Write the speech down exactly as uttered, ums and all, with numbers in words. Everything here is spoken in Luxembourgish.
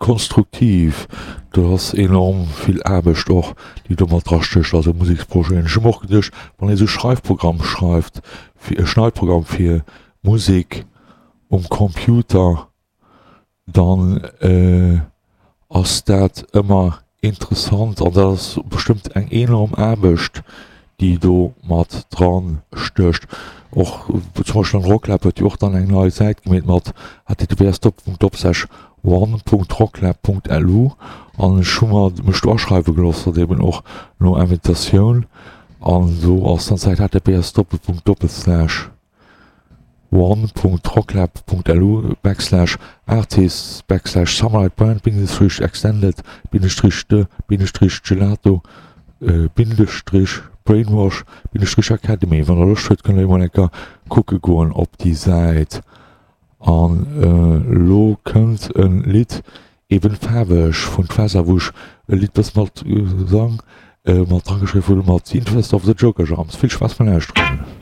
Konstruktiv, do ass enorm vill Aarbecht och, déi do mat drastécht, also Museksprojeten. Ech hu mer och geduecht, wann ee sou Schreifprogramm schreift, fir e Schneidprogramm fir Musek um Computer, dann ass dat ëmmer interessant an dat ass bestëmmt eng enorm Aarbecht, déi do mat dran stécht. Och zum Beispill am Rocklab huet jo och dann eng nei Säit gemeet mat https Doppelpunkt Doppelslash one Punkt rocklab Punkt lu an ech hu mer mech do aschreiwe gelooss, dat eben och no Invitatioun an do ass dann d'Säit https Doppelpunkt Doppelslash one Punkt rocklab Punkt lu backslash artists backslash summerbrand Bindestrich extended Bindestrich de Bindestrich gelato Bindestrich brainwash Bindestrich academy. Wann der Loscht huet, kënnt der emol eng Kéier kucke goen op déi Säit. An elo kënnt e Lidd, eben faarweg vun D'Fässer, wou ech e Lidd bësse mat Gesang mat drageschriwwen hunn, mat The Interest of the Joker Jams. Vill Spaass beim Lauschteren.